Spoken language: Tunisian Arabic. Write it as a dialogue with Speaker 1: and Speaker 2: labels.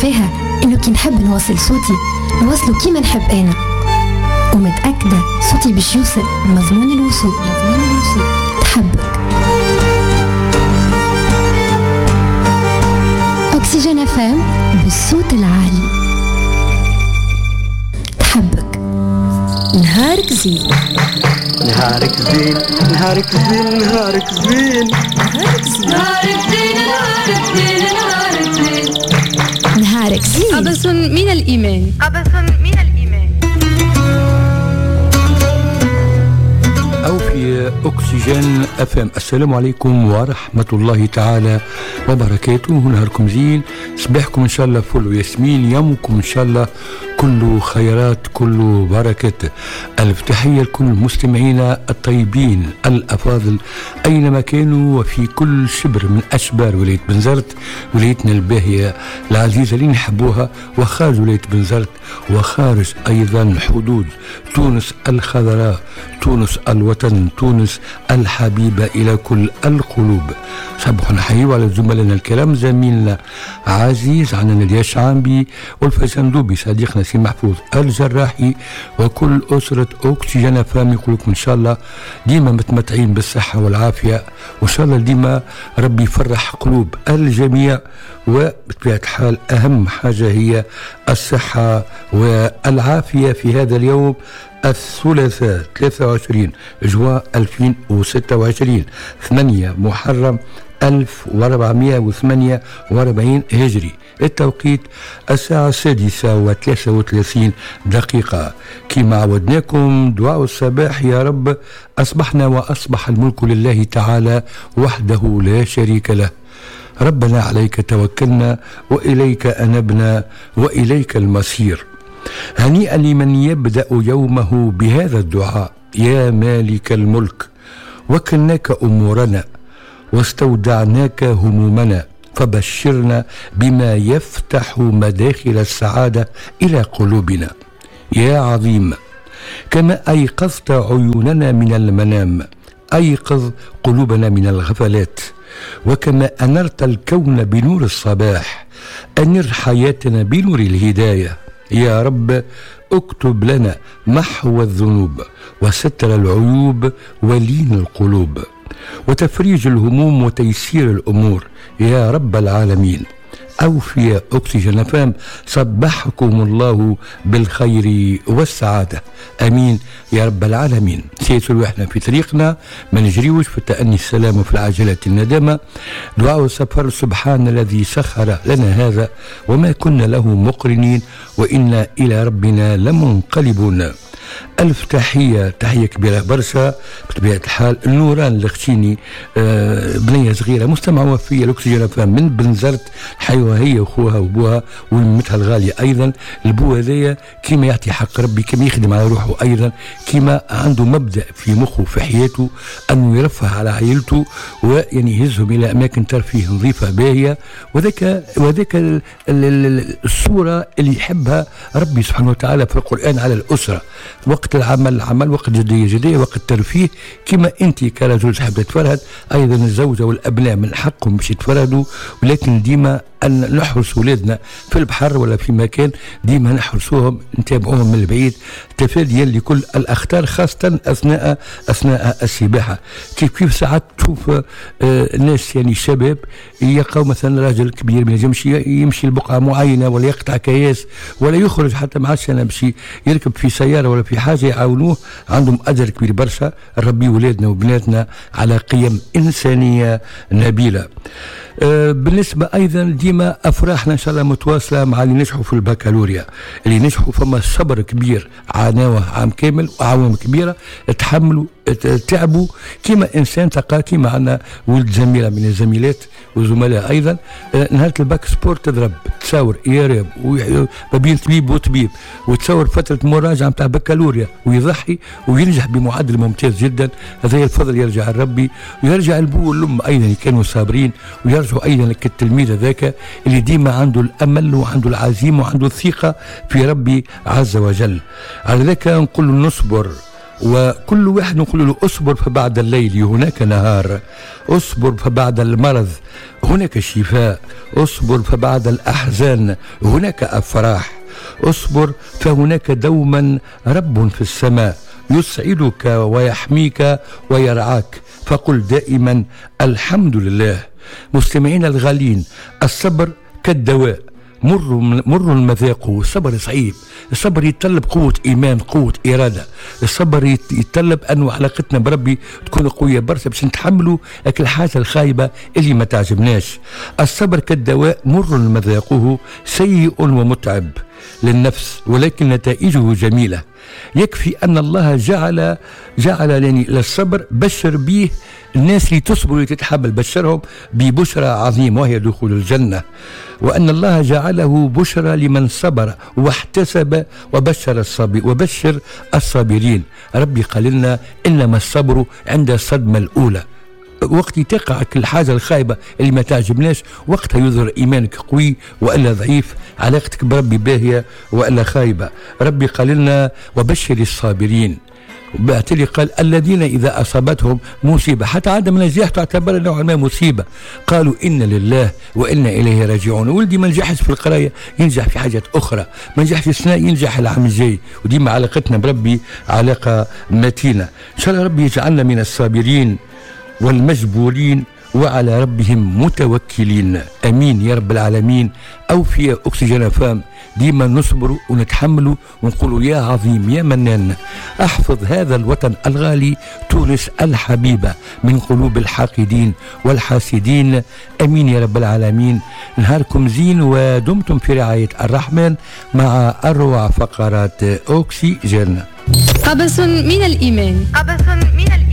Speaker 1: فيها إنه كي نحب نوصل صوتي نوصله كيما نحب أنا، ومتأكدة صوتي باش يوصل مضمون الوصول. تحبك أكسجين FM بالصوت العالي. تحبك. نهارك زين،
Speaker 2: نهارك زين، نهارك زين، نهارك زين،
Speaker 1: نهارك زين،
Speaker 3: نهارك زين، نهارك زين، نهارك زين،
Speaker 1: نهارك زين.
Speaker 3: قبس من الإيمان،
Speaker 4: قبس من الإيمان.
Speaker 5: أو في أكسجين FM. السلام عليكم ورحمة الله تعالى وبركاته. نهاركم زين، صباحكم إن شاء الله فل وياسمين، يومكم إن شاء الله كله خيرات كله بركات. ألف تحية لكل مستمعينا الطيبين الأفاضل أينما كانوا وفي كل شبر من أشبار ولاية بنزرت، ولايتنا الباهية العزيزة اللي نحبوها، وخارج ولاية بنزرت وخارج أيضا حدود تونس الخضراء، تونس الوطن، تونس الحبيبة إلى كل القلوب. صباح نحيي على زملائنا الكرام، زميلنا عزيز عنا الياس عامبي والفزندوبي، صديقنا سي محفوظ الجراحي، وكل أسرة أكسجين FM. يقولكم إن شاء الله ديما متمتعين بالصحة والعافية، وإن شاء الله ديما ربي يفرح قلوب الجميع. وبطبيعة الحال أهم حاجة هي الصحة والعافية في هذا اليوم الثلاثاء 23 جوان 2026، 8 محرم 1448 هجري. التوقيت الساعة 6:33. كما عودناكم دعاء الصباح، يا رب أصبحنا وأصبح الملك لله تعالى وحده لا شريك له، ربنا عليك توكلنا وإليك أنبنا وإليك المصير. هنيئا لمن يبدأ يومه بهذا الدعاء: يا مالك الملك، وكلناك أمورنا واستودعناك همومنا، فبشرنا بما يفتح مداخل السعادة إلى قلوبنا. يا عظيم، كما أيقظت عيوننا من المنام، أيقظ قلوبنا من الغفلات، وكما أنرت الكون بنور الصباح، أنر حياتنا بنور الهداية. يا رب اكتب لنا محو الذنوب وستر العيوب ولين القلوب وتفريج الهموم وتيسير الأمور يا رب العالمين. أوفي أكسجين FM، صبحكم الله بالخير والسعادة، أمين يا رب العالمين. سيسلو احنا في طريقنا، ما نجريوش في التأني السلام وفي العجلة الندامة. دعاء السفر: سبحان الذي سخر لنا هذا وما كنا له مقرنين وإنا إلى ربنا لمنقلبون. ألف تحية، تحية كبيرة برشا بطبيعة الحال نوران الختيني، بنية صغيرة مستمعة وفية الأكسجين FM من بنزرت، حيوها هي وخوها وبوها ومتها الغالية أيضا. البو هذايا كيما يعطي حق ربي، كيما يخدم على روحه أيضا، كيما عنده مبدأ في مخه في حياته أنه يرفه على عائلته ويعني يهزهم إلى أماكن ترفيه نظيفة باهية، وذاك الصورة اللي يحبها ربي سبحانه وتعالى في القرآن على الأسرة. وقت العمل عمل، وقت جدية جدية، وقت ترفيه. كما أنت كرجل تحب تتفرهد، أيضا الزوجة والأبناء من حقهم باش يتفرهدوا، ولكن ديما أن نحرس ولادنا في البحر ولا في مكان، ديما نحرسوهم نتابعوهم من البعيد تفاديا لكل الأخطار، خاصة أثناء السباحة. كيف ساعات تشوف ناس يعني شباب يلقاو مثلا راجل كبير ما ينجمش يمشي لبقعة معينة ولا يقطع كياس ولا يخرج حتى ما عادش أنا باش يركب في سيارة ولا في حاجة يعاونوه، عندهم أجر كبير برشا. ربي ولادنا وبناتنا على قيم إنسانية نبيلة. بالنسبة أيضا ديما أفراحنا إن شاء الله متواصلة مع اللي نجحوا في البكالوريا، اللي نجحوا فما صبر كبير عانوه عام كامل وعوام كبيرة، تحملوا تعبوا كما إنسان تلقى، كما عندنا ولد زميلة من الزميلات وزملاء أيضا نهار ال bac sport تضرب تصور يارب ما بين طبيب وطبيب، وتصور فترة مراجعة نتاع بكالوريا ويضحي وينجح بمعدل ممتاز جدا. هذا الفضل يرجع لربي ويرجع البو والأم أيضا كانوا صابرين، ويرجعوا أيضا للتلميذ هذاك اللي ديما عنده الأمل وعنده العزيمة وعنده الثقة في ربي عز وجل. على ذلك نقول نصبر وكل واحد نقول له اصبر فبعد الليل هناك نهار، اصبر فبعد المرض هناك شفاء، اصبر فبعد الأحزان هناك أفراح، اصبر فهناك دوما رب في السماء يسعدك ويحميك ويرعاك، فقل دائما الحمد لله. مستمعينا الغالين، الصبر كالدواء، مر المذاق. الصبر صعيب، الصبر يتطلب قوة إيمان، قوة إرادة، الصبر يتطلب أنه علاقتنا بربي تكون قوية برشا باش نتحملوا أكل الحاجة الخايبة اللي ما تعجبناش. الصبر كالدواء، مر مذاقه، سيء ومتعب للنفس، ولكن نتائجه جميلة. يكفي أن الله جعل يعني للصبر بشر به الناس اللي تصبر وتتحمل، بشرهم ببشرى عظيمة وهي دخول الجنة، وأن الله جعله بشرى لمن صبر واحتسب وبشر الصابر وبشر الصابرين. ربي قال لنا إنما الصبر عند الصدمة الأولى، وقت تقع كل حاجة الخايبة اللي ما تعجبناش وقتها يظهر إيمانك قوي وإلا ضعيف، علاقتك بربي باهية وإلا خايبة. ربي قال لنا وبشر الصابرين، وبالتالي قال الذين إذا أصابتهم مصيبة، حتى عدم النجاح تعتبر نوعا ما مصيبة، قالوا إن لله وإنا إليه راجعون. ولدي ما نجحش في القراية ينجح في حاجات أخرى، ما نجحش في السنة ينجح العام الجاي، وديما علاقتنا بربي علاقة متينة. إن شاء الله ربي يجعلنا من الصابرين والمجبورين وعلى ربهم متوكلين، امين يا رب العالمين. او في اكسجين فام ديما نصبر ونتحمل ونقول يا عظيم يا منان احفظ هذا الوطن الغالي تونس الحبيبة من قلوب الحاقدين والحاسدين، امين يا رب العالمين. نهاركم زين ودمتم في رعاية الرحمن مع اروع فقرات اكسجين.
Speaker 3: قبس من الايمان، قبس من الايمان.